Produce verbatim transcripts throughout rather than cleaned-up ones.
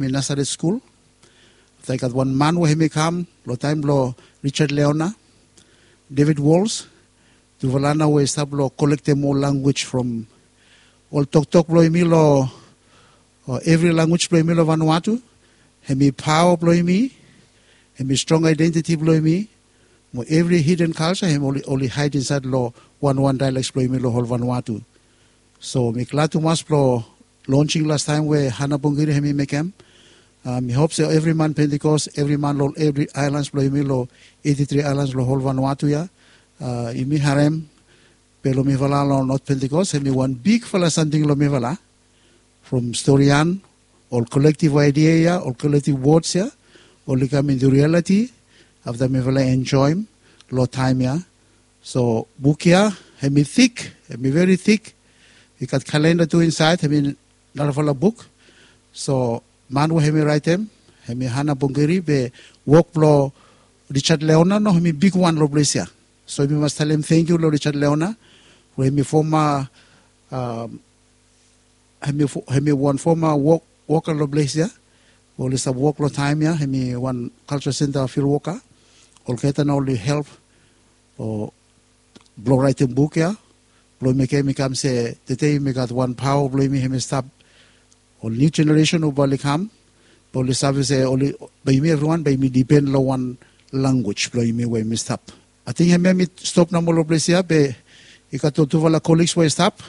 mi Nasaret skul. Afta i gat wan man we hem i kam long taem blong Richard Leona, David Walls, tufala nao we i stap long kolektem ol language from ol toktok blong yumi long evri language blong yumi long Vanuatu. Hem i paoa blong yumi, hem i strong aedentiti blong yumi, mo evri hiden kalja hem oli haed insaed long wanwan daeleks blong yumi long hol Vanuatu. So mi glad tumas blong lonsing lastaem we Hana Bongiri hem i mekem. Mi hop se evri man Pentikos, evri man long evri aelans blong yumi long eiti tri aelans long hol Vanuatu ya, yumi harem be long mifala long Not Pentikos hem i wan bigfala samting long mifala. From storian, ol kolektiv aedia ya, ol kolektiv wods ya, oli kam intu rialiti afta mifala enjoem long taem ya. So buk ya hem i tik, hem i veri tik. I gat kalenda tu insaed, hem i narafala buk. So man we hem i raetem hem i Hana Bongiri, be wok blong Richard Leona nao hem i bigwan long ples ya. So yumi mas talem tangkiu long Richard Leona we hem i foma hem i wan foma woka long ples ya. Oli stap wok long taem ya, hem i wan kalja senta fil woka. Olgeta nao oli help blong raetem buk ya blong mekem i kam se tede yumi gat wan paoa blong yumi hem i stap. Ol niu jeneresen we bae oli kam bae oli save se bae yumi evriwan bae yumi dipen long wan language blong yumi we yumi stap. Ating hem ya mi stop nomo long ples ya be i gat ol tufala koliks we i stap.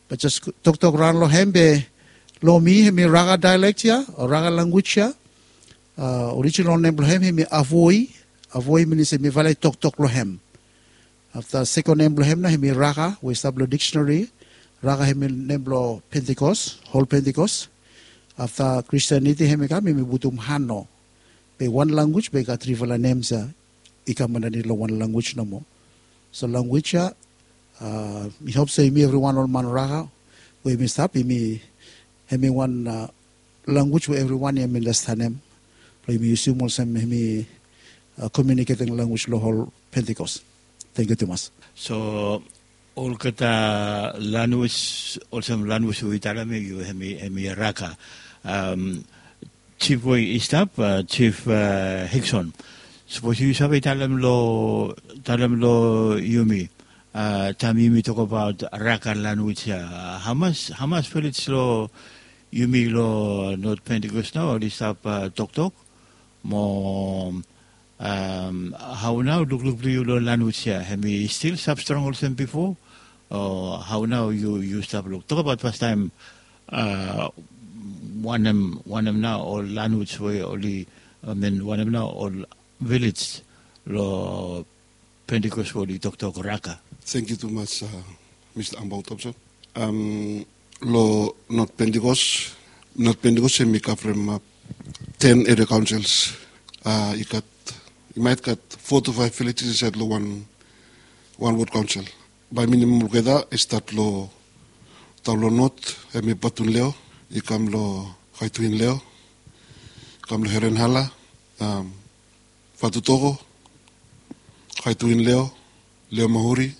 Be jes toktok raon long hem be long mi hem i Raga daelek ya o Raga language ya. Orijinal nem blong hem hem i Avoi. Avoi minim se mifala i toktok long hem. Afta sekon nem blong hem nao hem i Raga we i stap long diksenari. Raga hem i nem blong Pentikos, hol Pentikos. Afta Kristianiti hem i kam hem i putum Hano. Be wan language be i gat trifala nems ya i kam andanit long wan language nomo. So language ya mi hop se yumi evriwan ol man Raga we yumi stap yumi hem i wan language we evriwan ya yumi andastanem blong yumi yusum olsem hem i komiuniketing language long hol Pentikos. Tangkiu tumas. So olgeta lanwis olsem lanwis we yu talem ya yu hem i Raga. Jif we i stap, Jif Hikson, sapos yu save talem long talem long yumi taem yumi tokbaot Raga lanwis ya, hamas hamas vilej long yumi long Not Pentikos nao oli stap toktok mo hao nao lukluk blong yu long lanwis ya hem i stil stap strong olsem bifo? O hao nao yu yu stap luk tokbaot fastaem wanem wanem nao ol lanwis we oli I mean wanem nao ol vilej long Pentikos we oli toktok Raga? Tangkiu tumas Mista Ambao Topson. Long Not Pentikos, Not Pentikos hem i kavremap ten eria kaonsels. I gat i maet gat fo tu faef vilejes insaed long wan wan wod kaonsel. Bae minim olgeta i stat long taon long Not hem i Batunleo, i kam long Haitwinleo, i kam long Herenhala, Fatutoko, Haitwinleo, Leomahuri,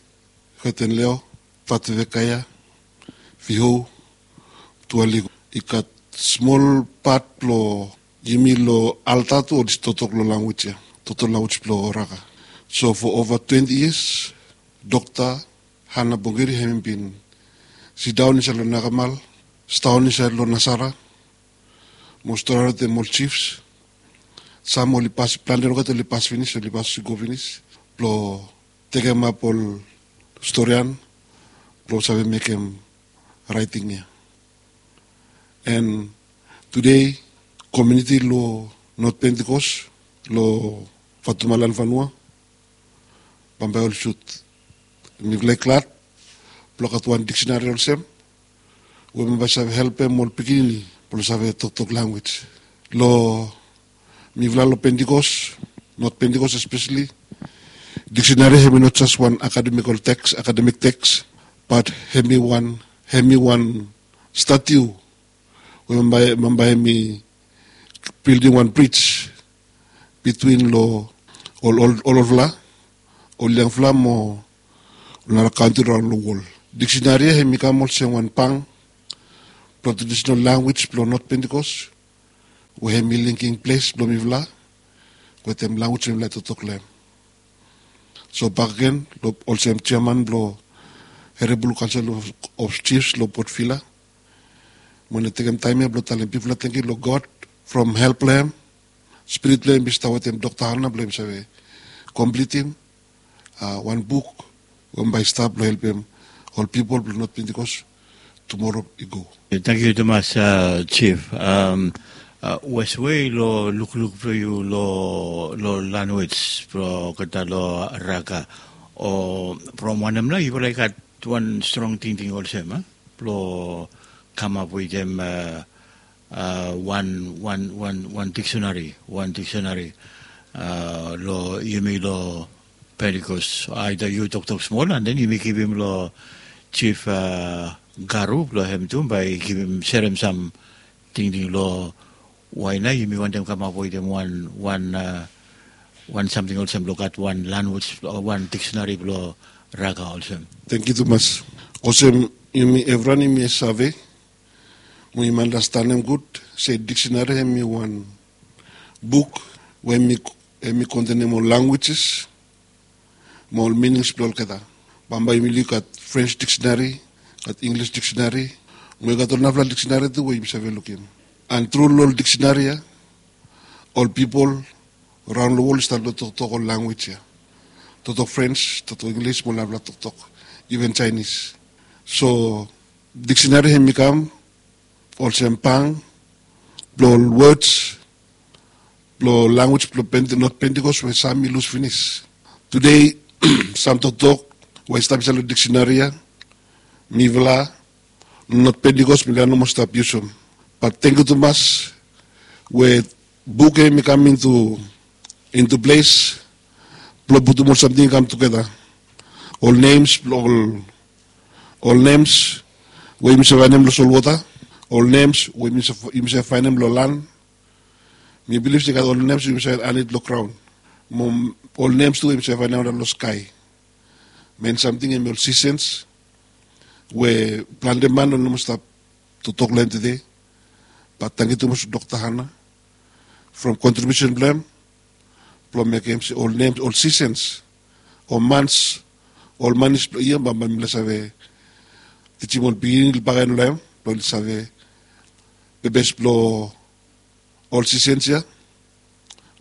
Hetenleo, Fatuvekaia, Vihou, Tualiku. I gat smol pat blong yumi long alta tu oli totok long lanwis ya, totok lanwis blong Raga. So fo ova twenti yias Dokta Hana Bongiri hem i bin sidaon insaed long Nakamal, sidaon insaed long Nasara mo storian wetem ol jifs. Sam oli pas plante olgeta oli pas finis oli pas i go finis blong tekemap ol storian blong save mekem raeting ya. An tude komiuniti long Not Pentikos long Fatumalan Vanua bambae oli sut. Mifala i glad blong gat wan diksenari olsem we bambae i save helpem ol pikinini blong save toktok lanwis. Long mifala long Pentikos, Not Pentikos espeseli, diksenari hem i no jes wan akademikol teks akademik teks, bat hem i wan hem i wan statiu we bambae hem i bildim wan brij bitwin long ol olfala, ol yangfala mo ol nara kantri raon long wol. Diksenari ya hem i kam olsem wan bang blong tradisenal lanwis blong Not Pentikos. we hem i linking ples blong mifala wetem language we mifala i toktok long hem. So bakegen, olsem chairman blong Herebulu Kaonsel of Chiefs long Port Vila, mi wani tekem taem ya blong talem bigfala tangkiu long God from help blong hem. Spirit blong hem i stap wetem Dokta Hana blong hem save komplitim wan buk we bae i stap blong helpem ol pipol blong North Pentecost tumora i go. Tangkiu tumas, Chief. Weswe, long lukluk blong yu long lanwis blong olgeta long Raga, o from wanem nao yufala i gat wan strong tingting olsem blong kamap wetem wan wan wan wan diksenari, wan diksenari long yumi long Pentecost. Aida yu toktok smol and then yumi givim long Chief Garu blong hem tu bae i givim, serem sam tingting long wae nao yumi wantem kamap wetem wan wan wan samting olsem blong gat wan lanwis o wan diksenari blong Raga olsem. Tangkiu tumas. Olsem yumi evriwan yumi save, mo yumi anastenem gud se diksenari hem i wan buk we hem i kontenem ol lanwijes mo ol minings blong olgeta. Bambae yumi luk gat French diksenari, gat Inglis diksenari, mo i gat ol narafala diksenari tu we yumi save lukim. And tru long ol diksenari ya ol pipol raon long wol i stat long toktok ol lanwis ya, toktok French, toktok Inglis mo ol narafala toktok, iven Jaenis. So diksenari hem i kam olsem bang blong ol wods blong lanwis blong North Pentecost we sam i lus finis. Tude sam toktok we i stap insaed long diksenari ya mifala North Pentecost mifala i no moa stap yusum. Bat tangkiu tumas we buk ya hem i kam intu ples blong putum ol samting i kam tugeta. Ol nems blong ol ol nems we yumi save faenem long solwota, ol nems we yumi save faenem long lan. Mi bilif se i gat ol nems we yumi save anit long graon, mo ol nems tu we yumi save faenem long skae. Men samting hem i ol sisens we plante man oli no moa stap toktok long hem tude. Bat tangkiu tumas long Dokta Hana from kontribiusen blong hem blong mekem se ol nems, ol sisens, ol mans, ol manis blong yia bambae mifala save tijim ol pikinini long bakegen long hem blong oli save pepes blong ol sisens ya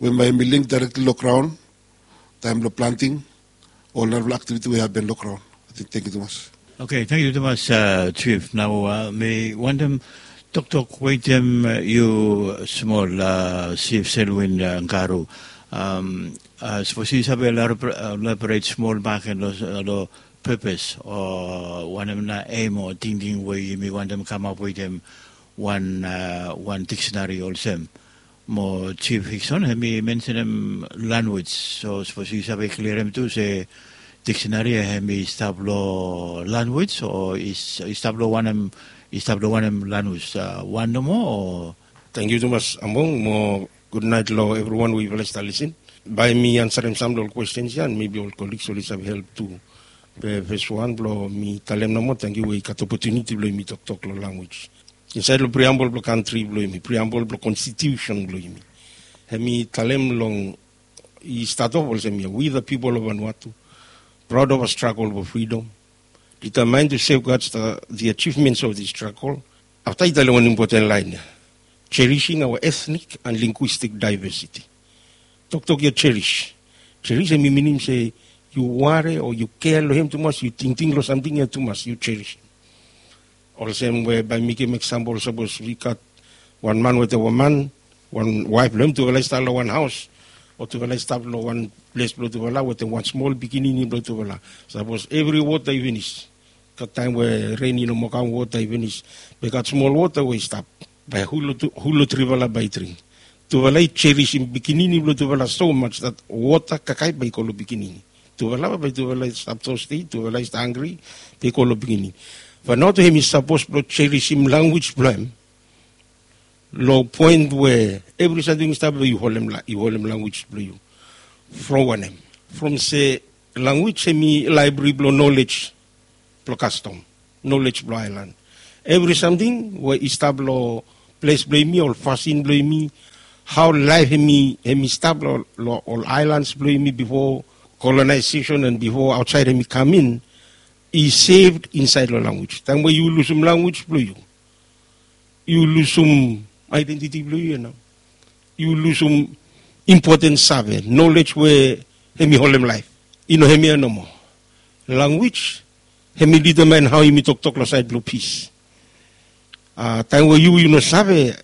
we bae hem i link daerektli long graon taem blong planting ol narafala aktiviti we i hapen long graon. Tangkiu tumas. Oke, tangkiu tumas, Chief. Nao mi wantem toktok wetem yu smol, Chief Selwyn Garu. Sapos yu save elaboret smol bakegen long pepes o wanem nao em o tingting we yumi wantem kamap wetem wan wan diksenari olsem. Mo Chief Hikson hem i mensenem lanwis. So sapos yu save klirim tu se diksenari ya hem i stap long lanwis o i stap long wanem, i stap long wanem lanwis, wan nomo o? Tangkiu tumas Ambong mo gudnaet long evriwan we yufala i stap lisin. Bae mi ansarem sam long ol kwestens ya and mebi ol koligs oli save help tu. Be fes wan blong mi talem nomo tangkiu we i gat opotuniti blong yumi toktok long lanwis insaed long priambol blong kantri blong yumi, priambol blong konstitiusen blong yumi. Hem i talem long, i stat of olsem ya, we the people of Vanuatu, proud of our struggle for freedom, determined to safeguard the achievements of this struggle. Afta i talem wan impoten laen ya, cherishing our ethnic and linguistic diversity. Toktok ya cherish, cherish hem i minim se yu ware o yu kea long hem tumas, yu tingting long samting ya tumas, yu cherish. Olsem we bae mi givim eksampol, sapos i gat wan man wetem wan man, wan waef blong hem, tufala i stap long wan haos o tufala i stap long wan ples blong tufala wetem wan smol pikinini blong tufala. Sapos evri wota i finis, gat taem we ren i no moa kam, wota i finis, be gat smol wota we i stap, bae hu long trifala bae i dring? Tufala i cherisim pikinini blong tufala so maj dat wota kakae bae i go long pikinini. Tufala bae tufala i stap tosti, tufala i stap hanggri, bae i go long pikinini. Vanuatu hem i sapos blong cherisim lanwis blong hem long poen we evri samting i stap long yu holem lanwis blong yu. From wanem? From se lanwis hem i laebri blong nolej blong kastom, nolej blong aelan. Evri samting we i stap long ples blong yumi, ol fasin blong yumi, hao laef hemi stap long ol aelans blong yumi bifo kolonaesesen and bifo aotsaed hemi kam in, i seved insaed long lanwis. Taem we yu lusum lanwis blong yu, yu lusum aedentiti blong yu ya nao. Yu lusum impoten save, nolej we hemi holem laef. I no hemia nomo. Lanwis hemi ditamaen hao yumi toktok long saed blong pis. Taem we yu yu no save,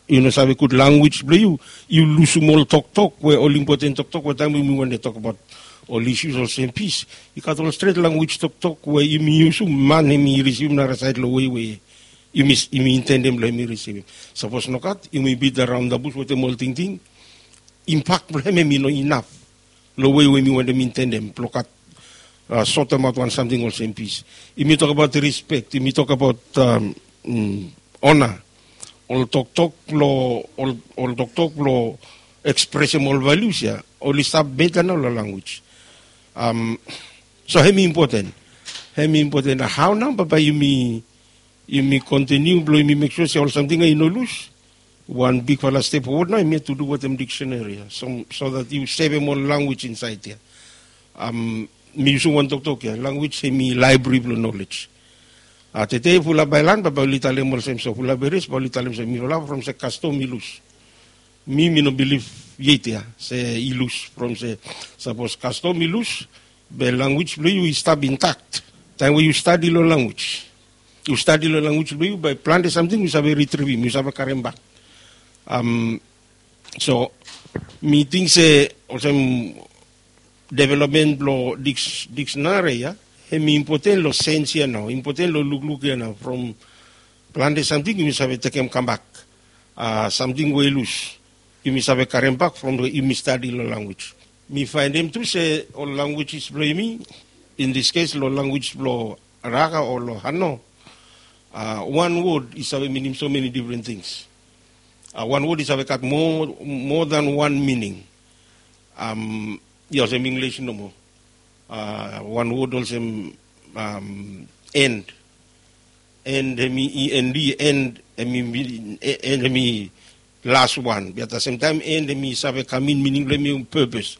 yu no save gud lanwis blong yu, yu lusum ol toktok we ol impoten toktok we taem we yumi wantem tokbaot ol isus olsem pis, i gat ol stret lanwis toktok we yumi yusum, man hemi risivim narasaed long wei we yumi intendem blong hemi risivim. Sapos nogat, yumi bit araon dabus wetem ol tingting, impak blong hem hemi no inaf long wei we yumi wantem intendem blong gat sotemaot wan samting olsem pis. Yumi tokbaot rispek, yumi tokbaot ona. Ol toktok blong ol toktok blong ekspresem ol valius ya, oli stap beta nao long lanwis. So hemi impoten. Hemi impoten. Hao nao bambae yumi kontiniu blong yumi mek sua se ol samting ya i no lus? Wan bigfala step fowod nao hemia tu du wetem dikseneri ya, so dat yu sevem ol lanwis insaed ya. Mi yusum wan toktok ya, lanwis hemi laebri blong nolej. Tede fulap aelan bambae oli talem olsem so, fulap eres bae oli talem se mifala from se kastom i lus. Mi mi no bilif yet ya se i lus from se, sapos kastom i lus, be lanwis blong yu i stap intak. Taem we yu stadi long lanwis, yu stadi long lanwis blong yu, bae plante samting yu save ritrivim, yu save karem bak. So mi ting se olsem developmen blong dikseneri ya, hemi impoten long sens ya nao, impoten long lukluk ya nao, from plante samting yumi save tekem kambak. Samting we i lus, yumi save karem bak from we yumi stadi long lanwis. Mi faenem tu se ol lanwis blong yumi, in this case long lanwis blong Raga o long Hano, wan wod i save minim so meni difren tings. Wan wod i save gat moa dan wan mining. I olsem Inglis nomo. Wan wod olsem end. End hemi, end, end hemi las wan, be at the same time end hemi save kam in, mining blong hemi purpose.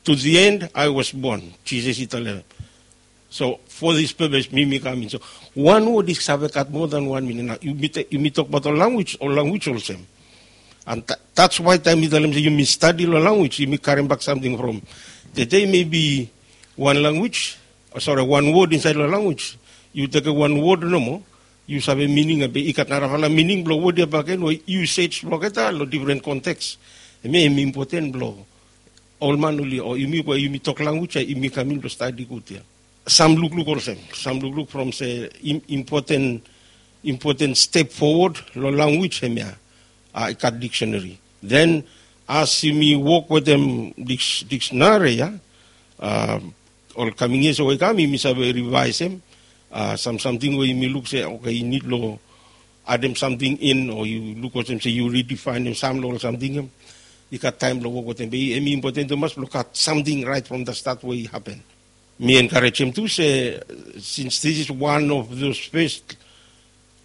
To the end I was born, Jisas i talem. So for this purpose mi mi kam in. So wan wod i save gat moa dan wan mining. Nao yumi tokbaot ol lanwis, ol lanwis olsem. And that's why taem mi talem se yumi stadi long lanwis, yumi karem bak samting from. Tede maybe wan lanwis, sore, wan wod insaed long lanwis, yu tekem wan wod nomo, yu save mining ya, be i gat narafala mining blong wod ya bakegen we yu sej blong olgeta long difren konteks. Hemia hemi impoten blong ol man oli, o yumi we yumi tok lanwis ya, yumi kam in blong stadi gud ya. Sam lukluk olsem, sam lukluk from se impoten, impoten step fowod long lanwis hemia, i gat dikseneri. Den as yumi wok wetem dikseneri ya, ol kaming yia we i kam, yumi save rivaesem sam samting we yumi luk se oke, i nid long adem samting in, o yu luk olsem se yu ridifaenem sam long ol samting ya. I gat taem blong wok wetem, be hemi impoten tumas blong gat samting raet from the stat we i hapen. Mi enkarejem tu se since this is one of those first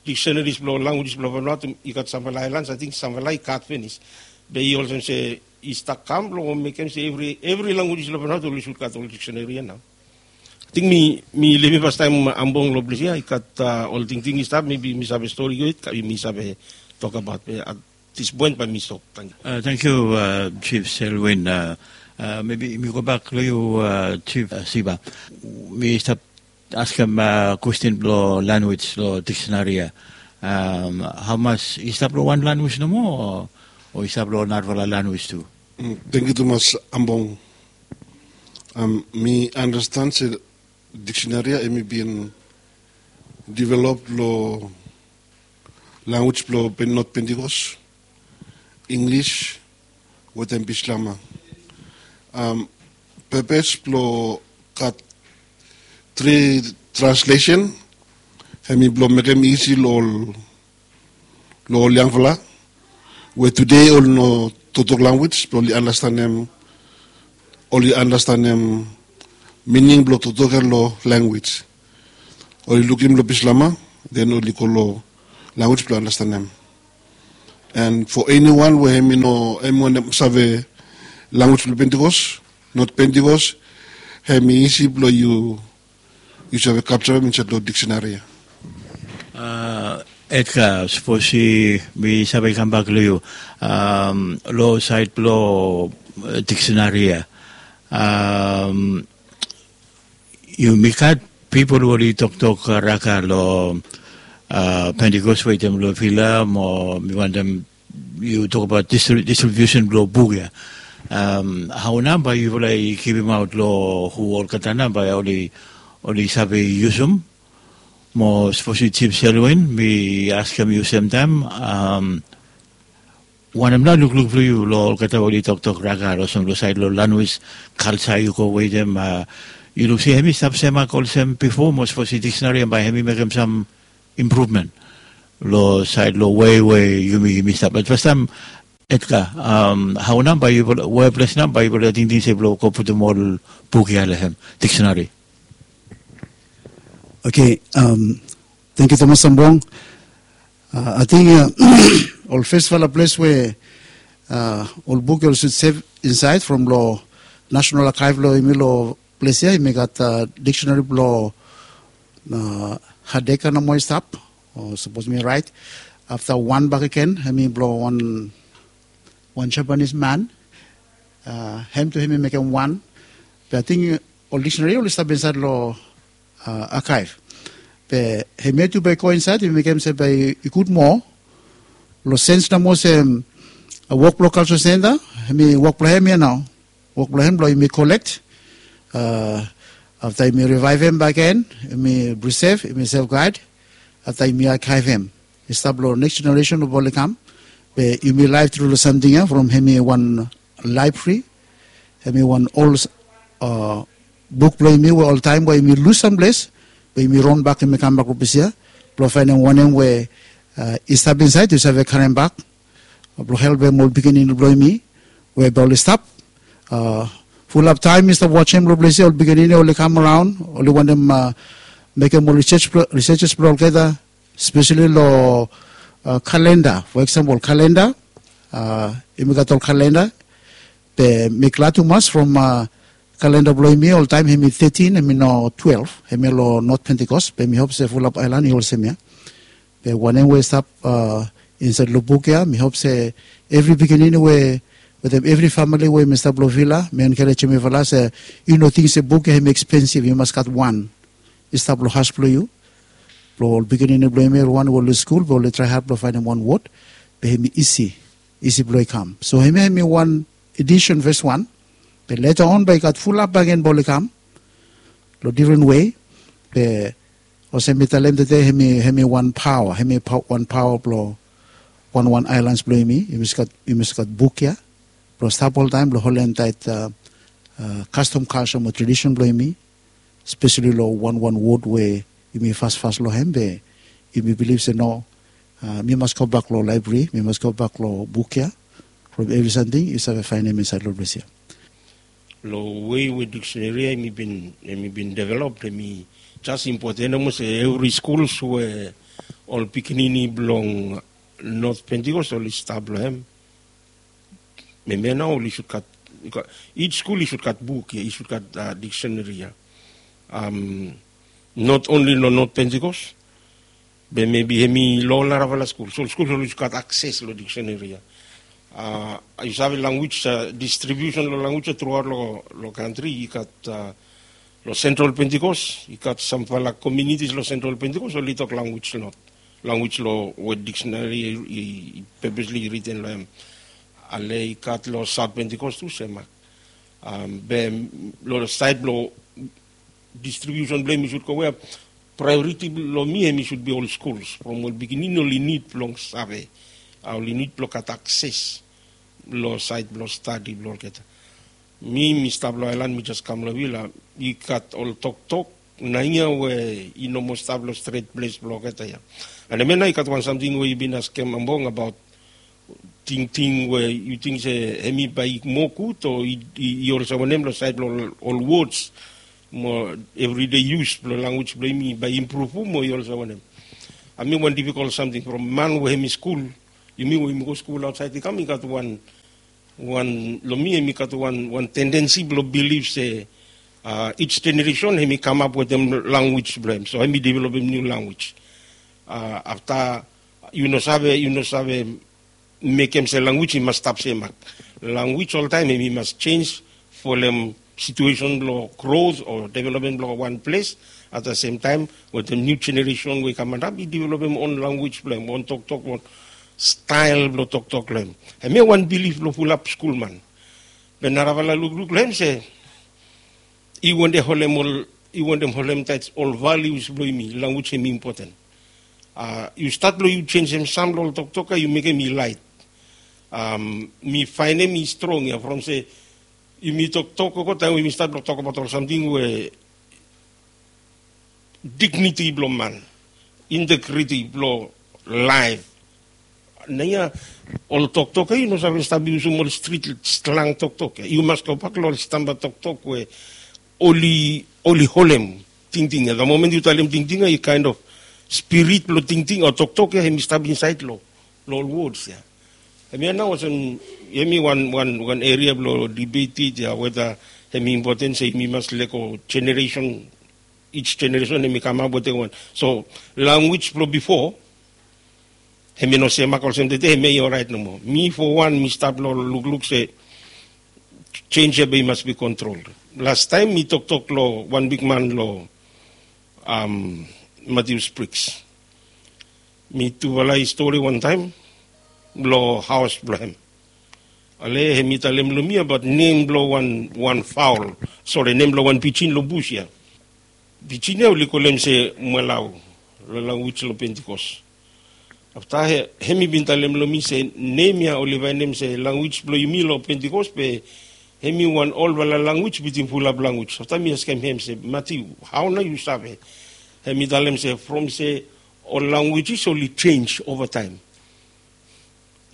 dikseneris blong lanwis blong Vanuatu, i gat samfala aelans, ating samfala i gat finis. Be i olsem se i stap kam blong mekem se evri lanwis long Vanuatu oli sud gat ol dikseneri ya nao. Ating mi, mi livim fastaem Ambong long ples ya, i gat ol tingting i stap, maybe mi save stori go, mi save tokbaot, be at this point bae mi stop. Tangkiu. Tangkiu Jif Selwin. Maybe mi gobak long yu Jif Siva. Mi stap askem kwesten blong lanwis long dikseneri ya. Hamas i stap long wan lanwis nomo, o i stap long narafala lanwis tu? Tangkiu tumas Ambong. Mi anastan se dikseneri ya hemi bin divelop long lanwis blong Not Pentikos, Inglis wetem Bislama. Pepes blong gat tri translesen hemi blong mekem isi long ol yangfala we tude oli no toktok lanwis blong oli anastanem, oli anastanem mining blong toktok ya long lanwis. Oli lukim long Bislama, den oli go long lanwis blong anastanem. And for anyone we hem i no hem i wantem save language blong Pentecost, not Pentecost, hem i isi blong yu yu save kapcha hem insait long dictionary ya. Edgar, sapos mi save kambak long yu, long sait blong dictionary ya, yumi gat pipol we oli toktok Raga long Pentecost wetem long Vila mo mi wantem yu tokbaot distribusen blong buk ya. Hao nao bae yufala i givimaot long hu olgeta nao bae oli save yusum? Mo sapos yu Jif Selwyn, mi askem yu semtaem, wanem nao lukluk blong yu long olgeta we oli toktok Raga olsem long sait long lanwis, kalja yu go wetem, yu luk se hem i stap semak olsem bifo mo sapos i diksenari hem bae hem i mekem sam impruvmen long sait long wei we yumi yumi stap? Bat fastaem, Edgar, hao nao bae yufala, we ples nao bae yufala tingting se blong go putum ol buk ya long hem diksenari? Oke, tangkiu tumas Sambrong. Ating ol fesfala ples we ol buk ya oli sud sev insait from long National Archive blong yumi long ples ya, yumi gat diksenari blong Hadeka nomo i stap, o sapos mi rait. Afta wan bakegen hem i blong wan Japanis man. Hem tu hem i mekem wan. Be ating ol diksenari oli stap insait long archive. Be hemia tu bae i go insait, i mekem se bae i gud moa long sens nomo olsem wok blong Cultural Centre, hem i wok blong hem ya nao. Wok blong hem blong yumi kolek, afta yumi rivaevem bakegen, yumi prisev, yumi safeguard, afta yumi arkaevem i stap long next jeneresen we bae oli kam. Be yumi laef tru long samting ya from hem i wan laebrari, hem i wan ol buk blong yumi we oltaem we yumi lus samples, be yumi ronbak yumi kambak long ples ya blong faenem wanem we i stap insait, yu save karembak blong helpem ol pikinini blong yumi we bae oli stap. Fulap taem mi stap wajem long ples ya, ol pikinini oli kam raon, oli wantem mekem ol rises blong olgeta, spesali long kalenda. Fo eksampol kalenda, yumi gat ol kalenda. Be mi glad tumas from kalenda blong yumi oltaem hem i tetin, hem i no twelef, hem i long Not Pentecost. Be mi hop se fulap aelan i olsem ya. Be wanem we i stap insait long buk ya, mi hop se evri pikinini we wetem evri famili we yumi stap long Vila, mi enkarejem yufala se yu no ting se buk ya hem i ekspensiv, yu mas gat wan i stap long haos blong yu, blong ol pikinini blong yumi, evriwan we oli skul, be oli trae had blong faenem wan wod, be hem i isi, isi blong i kam. So hemia hem i wan edisen fes wan. Be leta on bae i gat fulap bakegen bae oli kam long difren wei. Be olsem mi talem tede, hem i wan paoa, hem i wan paoa blong wanwan aelans blong yumi. Yumi mas gat buk ya blong stap oltaem blong holem taet kastom, kalja mo tradisen blong yumi, spesali long wanwan wod we yumi fasfas long hem. Be yumi bilif se no, mi mas gobak long laebrari, mi mas gobak long buk ya from evri samting yu save faenem insait long ples ya. Long wei we dikseneri ya hem i bin develop, hem i jas impoten olmos evri skuls we ol pikinini blong Not Pentecost oli stap long hem. Hemia nao oli sud gat, ij skul i sud gat buk ya, i sud gat dikseneri ya. Not onli long Not Pentecost, be mebi hem i long ol narafala skul. So ol skul oli sud gat akses long dikseneri ya. Yu save lanwis, distribiusen long lanwis ya truaot long kantri, i gat long Sentral Pentecost, i gat samfala komunitis long Sentral Pentecost oli tok lanwis long, lanwis long we dikseneri i pepesli riten long hem. Ale i gat long Saot Pentecost tu semak. Be long saed blong distribiusen blong hem i sud go we, praeoriti blong mi hem i sud bi ol skuls, from ol pikinini oli nid blong save, oli nid blong gat akses long saed blong stadi blong olgeta. Mi mi stap long aelan, mi jas kam long Vila, i gat ol toktok nating ya we i no moa stap long stret ples blong olgeta ya. An hemia nao i gat wan samting we yu bin askem Ambong abaot tingting we yu ting se hemi bae i moa gud o i olsem wanem long saed blong ol wods mo evridei yus blong lanwis blong yumi bae i impruvum o i olsem wanem. Hemi wan difikol samting from man we hemi skul Yumi we yumi go skul aotsaed i kam i gat wan wan long mi em i gat wan wan tendensi blong bilif se ij jeneresen em i kamap wetem lanwis blong em, so em i developem niu lanwis. Afta yu no save yu no save mekem se lanwis i mas stap semak. Lanwis oltaem em i mas jenj folem situesen blong grot o developmen blong wan ples. At the sem taem wetem niu jeneresen we i kam antap i developem on lanwis blong em, on toktok, on stael blong toktok long em. Hemia wan bilif blong fulap skulman. Be narafala lukluk long em se i wantem holem ol i wantem holem taet ol valius blong yumi, lanwis em i impoten. Yu stat blong yu jenjem sam long ol toktok ya yu mekem i laet. Mi faenem i strong ya from se yumi toktok gogo taem we yumi stat blong tokbaot ol samting we digniti blong man, integriti blong laef. Naoia ol toktok ya yu no save stap yusum ol strit slang toktok ya. Yu mas gobak long ol stamba toktok we oli oli holem tingting ya. The moment yu talem tingting ya i kaen of spirit blong tingting o toktok ya em i stap insaed long long ol wods ya. Hemia nao olsem hemi wan wan wan eria blong dibeted ya weta hemi impoten se yumi mas lego jeneresen, ij jeneresen hemi kamap wetem wan. So lanwis blong bifo hemi no semak olsem tede hemia i oraet nomo. Mi fo wan mi stap long lukluk se jenj ya be i mas bi kontrol. Lastaem mi toktok long wan bigman long Matius Briks. Mi tufala i stori wantaem long haos blong hem. Ale hem i talem long mi abaot nem blong wan wan faol, sore, nem blong wan pijin long bus ya. Pijin ya oli kolem se mwalau long lanwis long Pentikos. Afta hem i bin talem long mi se nem ya oli vaenem se lanwis blong yumi long Pentikos be hem i wan olfala lanwis bitim fulap lanwis. Afta mi askem hem se Matiu, hao nao yu save? Hem i talem se from se ol lanwis oli jenj ovataem.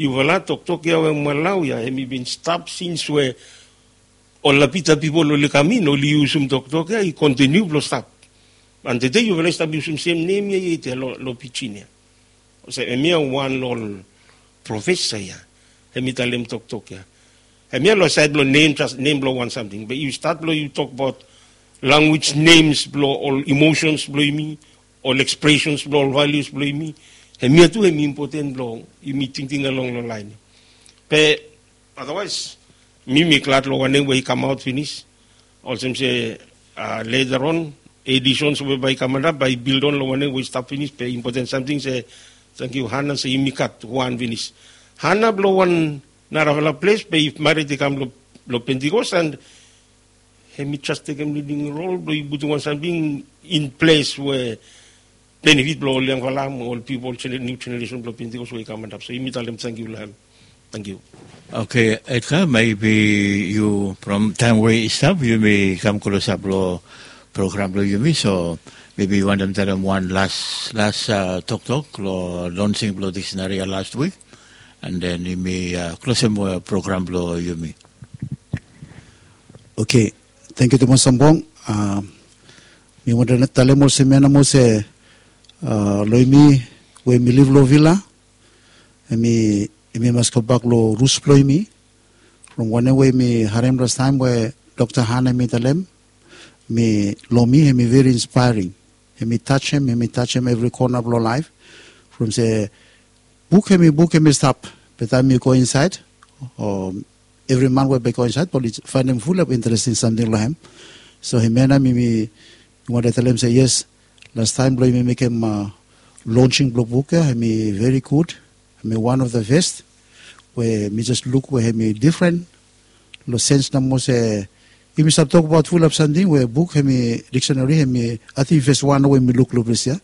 Yufala toktok ya we mwalau ya hem i bin stap sins we ol lapita pipol oli kam in oli yusum toktok ya i kontiniu blong stap. Antede yufala i stap yusum sem nem ya yet ya long pijin ya. Olsem hemia wan long ol profesa ya hem i talem toktok ya. Hemia long saed blong nem jas nem blong wan samting be yu stat blong yu tokbaot lanwis nems blong ol imosens blong yumi, ol ekspresens blong ol valius blong yumi. Hemia tu hem i impoten blong yumi tingting along long laen ya. Be adawaes mi mi glad long wanem we i kamaot finis. Olsem se leta on edisons we bae i kam antap bae i bildon long wanem we i stap finis be impoten samting se tangkiu hana se yumi gat wan finis. Hana blong wan narafala ples be i marit i kam long Pentikos an hem i jas tekem liding rol blong i putum wan samting in ples we benefit blong ol yangfala mo ol pipol niu jeneresen blong Pentikos we i kam antap. So yumi talem tangkiu long hem. Tangkiu. Oke, Edgar, mebi yu from taem we i stap yumi kam klosap long program blong yumi, so mebi yu wantem talem wan las las toktok long lonsing blong diksenari ya last wik, and then yumi klosem program blong yumi. Oke, tangkiu tumas Sambong. Mi wantem talem olsem ya nomo se long yumi we yumi liv long vila, yumi mas gobak long rus blong yumi. From wanem we yumi harem lastaem we Dokta Hana yumi talem, mi long mi hemi veri inspaering. Hemi tajem hemi tajem evri kona blong laef. From se buk hemi buk hemi stap, be taem mi go insaed o evri man we bae i go insaed bae oli faenem fulap interesting samting long hem. So hemia nao mi mi wantem talem se yes, lastaem blong yumi mekem lonsing blong buk ya hemi veri gud. Hemi wan of the best we mi jes luk we hemi difren long sens nomo se yumi stap tokbaot fulap samting we buk hemi diksenari hemi ating fes wan we mi luk long ples ya.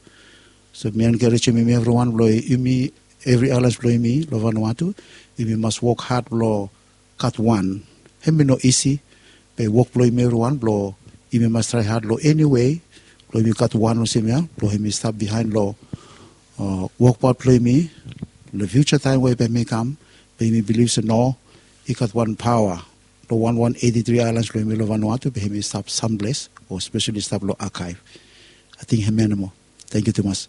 So mi enkarejem yumi evriwan blong yumi evri alas blong yumi long Vanuatu, yumi mas wok had blong gat wan. Hemi no isi, be wok blong yumi evriwan blong yumi mas trae had long eni wei blong yumi gat wan olsem ya blong yumi stap bihaen long wokbaot blong yumi long fiuja taem we bae hemi kam. Be yumi bilif se no, i gat wan paoa long wan wan eiti tri aelans blong yumi long Vanuatu be hemi stap samples o spesali stap long akaev. Ating hemia nomo. Tangkiu tumas.